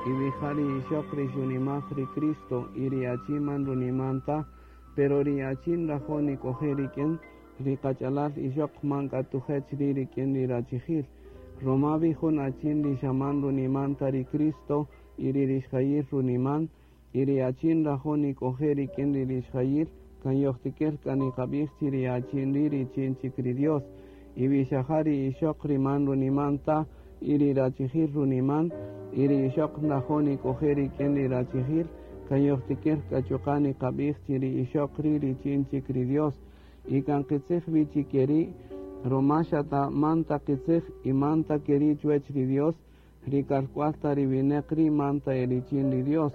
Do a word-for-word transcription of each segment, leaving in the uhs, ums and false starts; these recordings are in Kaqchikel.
Y wi ja ri ixöq ri xunimaj ri Cristo y ri achin man runiman ta, pero ri achin nrajo' nik'oje' rik'in, ri qach'alal ixöq man k'a tujech ri' rik'in ri rachijil. Ruma wi jun achin ri xa man runiman ta ri Cristo y ri rixjayil runiman, y ri achin nrajo' nik'oje' rik'in ri rixjayil, kan yojtikir k'a niqab'ij chi ri achin ri' richin chik ri Dios. Y wi xa ja ri ixöq ri man runiman ta y ri rachijil runiman, y ri ixöq nrajo' nik'oje' rik'in ri rachijil, kan yojtikir k'a chuqa' niqab'ij chi ri ixöq ri' richin chik ri Dios. Y kan qitzij wi chi keri', ruma xa ta man ta qitzij y man ta keri' chuwech ri Dios, ri kalk'wal ta ri winäq ri' man ta e richin ri Dios,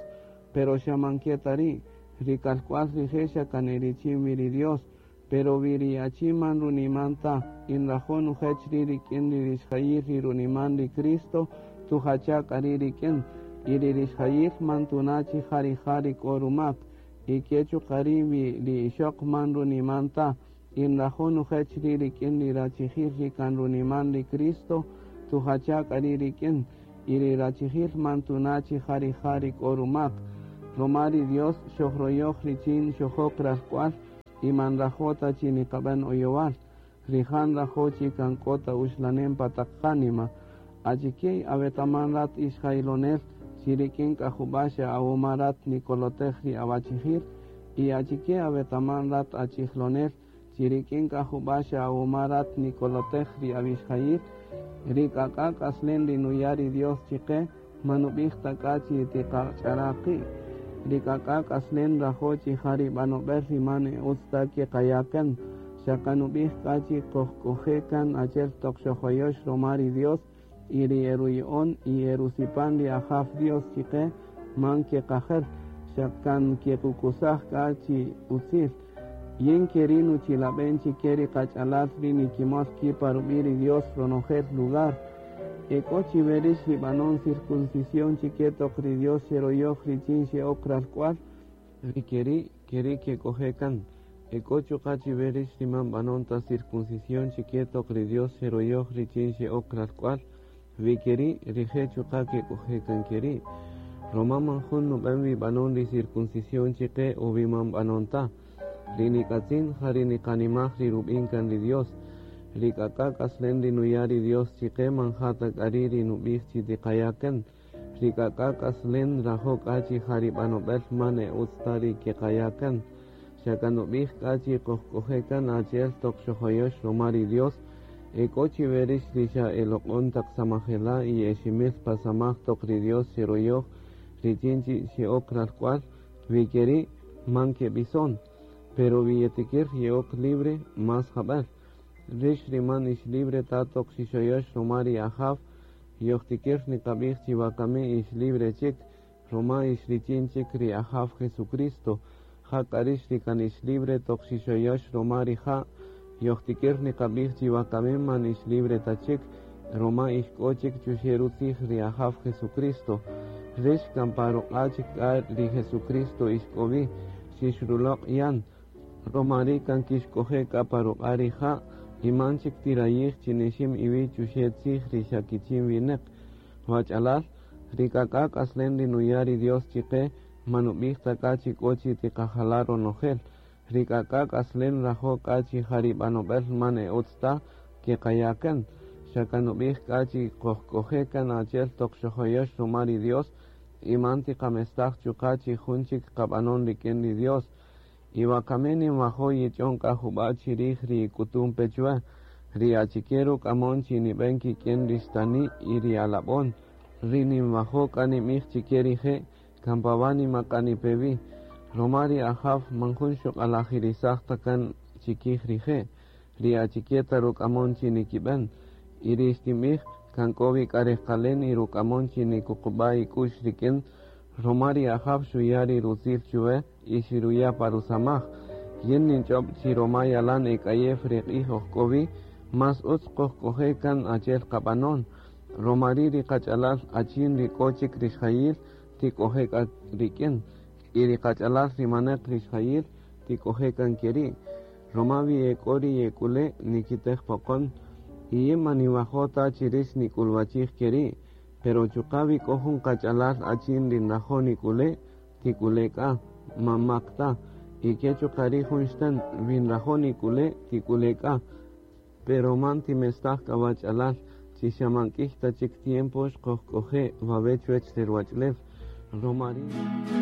pero xa man ke ta ri', ri kalk'wal rije' xa kan e richin wi ri Dios. Pero wi ri achin man runiman ta y nrajo' nujech ri' rik'in ri rixjayil ri runiman ri Cristo, tujacha' k'a ri' rik'in, y ri rixjayil man tuna' chi ja rija' ri k'o rumak. Y ke chuqa' ri' wi ri ixöq man runiman ta y nrajo' nujech ri' rik'in ri rachijil ri kan runiman ri Cristo, tujacha' k'a ri' rik'in, y ri rachijil man tuna' chi ja rija' ri k'o rumak. Ruma ri Dios xojroyoj richin xojok ralk'wal y man nrajo' ta chi niqab'än oyowal. Rija' nrajo' chi kan k'o ta uxlanem pa taq qánima. Achike awetaman rat ixjailonel chi rik'in k'a jub'a' xa awuma rat nikolotej ri awachijil, y achike awetaman rat achijlonel chi rik'in k'a jub'a' xa awuma rat nikolotej ri awixjayil. Ri k'ak'a' k'aslen ri nuya' ri Dios chiqe man nub'ij ta k'a chi tiqach'ara' qi'. Ri k'ak'a' k'aslen nrajo' chi ja ri b'anob'el ri man e utz ta keqaya' kan, xa kanub'ij k'a chi qojk'oje' kan achi'el toq xojoyox ruma ri Dios y ri eruya'on y erusipan ri Ajaw Dios chiqe man keqajel, xa kan kequkusaj k'a chi utzil. Yin keri' nuchilab'en chike ri qach'alal ri nikimol ki' pa rub'i' ri Dios ronojel lugar. E k'o chi werix ri b'anon circuncisión chike toq ri Dios xeroyoj richin xe'ok ralk'wal, ri keri' keri' kek'oje' kan. E k'o chuqa' chi werix ri man b'anon ta circuncisión chike toq ri Dios xeroyoj richin xe'ok ralk'wal, wi keri' rije' chuqa' kek'oje' kan keri'. Ruma man jun nub'en wi b'anon ri circuncisión chike o wi man b'anon ta. Ri nik'atzin ja ri niqanimaj ri rub'in kan ri Dios. Ri k'ak'a' k'aslen ri nuya' ri Dios chiqe man ja ta k'a ri' ri nub'ij chi tiqaya' kan. Ri k'ak'a' k'aslen nrajo' k'a chi ja ri b'anob'el man e utz ta ri keqaya' kan. Xa kan nub'ij k'a chi qojk'oje' kan achi'el toq xojoyox ruma ri Dios. E k'o chi werix ri xa eloq'on taq samajela' y eximil pa samaj toq ri Dios xeroyoj richin chi xe'ok ralk'wal, wi keri' man keb'ison. Pero wi yetikir ye'ok libre más jab'el. Rix ri man ix libre ta toq xixoyox ruma ri Ajaw, yojtikir niqab'ij chi wakami ix libre chik, ruma ix richin chik ri Ajaw Jesucristo. Jak'a rix ri kan ix libre toq xixoyox ruma rija', yojtikir niqab'ij chi wakami man ix libre ta chik, ruma ix k'o chik chuxe' rutzij ri Ajaw Jesucristo. Rix kan pa ruq'a' chik k'a ri Jesucristo ix k'o wi, xixruloq' yan. Ruma ri' kan kixk'oje' k'a pa ruq'a' rija', y man chik tirayij chi nixim iwi' chuxe' tzij ri xa kichin winäq. Wach'alal, ri k'ak'a' k'aslen ri nuya' ri Dios chiqe, man nub'ij ta k'a chi k'o chi tiqajala' ronojel. Ri k'ak'a' k'aslen nrajo' k'a chi ja ri b'anob'el man e utz ta keqaya' kan. Xa kan nub'ij k'a chi qojk'oje' kan achi'el toq xojoyox ruma ri Dios, y man tiqamestaj chuqa' chi jun chik qab'anon rik'in ri Dios. Y wakami ninwajo' yich'on k'a jub'a' chirij ri k'utun pe chuwe, ri achike ruk'amon chi nib'en kik'in ri xtani' y ri alab'on. Ri ninwajo' k'a ninb'ij chike rije' kan pa wánima k'a nipe wi. Ruma ri Ajaw man jun xuq'alajirisaj ta kan chikij rije', ri achike ta ruk'amon chi nikib'en. Y ri xtinb'ij kan k'o wi k'a rejqalen y ruk'amon chi nikuqub'a' ik'u'x rik'in, ruma ri Ajaw xuya' ri rutzil chuwe y xiruya' pa rusamaj. Yin ninch'ob' chi ruma yalan ek'ayew ri q'ij oj k'o wi, más utz qojk'oje' kan achi'el qab'anon. Ruma ri' ri qach'alal achin ri k'o chik rixjayil tik'oje' k'a rik'in, y ri qach'alal ri manaq rixjayil tik'oje' kan keri'. Ruma wi ek'o ri yek'ule' nikitej poqon, y yin man ninwajo' ta chi rix nik'ulwachij keri'. Pero chuqa' wi k'o jun qach'alal achin ri nrajo' nik'ule', tik'ule' k'a, man mak ta. Y ke chuqa' ri' jun xtän, wi nrajo' nik'ule', tik'ule' k'a. Pero man timestaj k'a wach'alal, chi xa man k'ïy ta chik tiempo xkojk'oje' wawe' chuwäch re ruwach'ulew. Ruma ri'.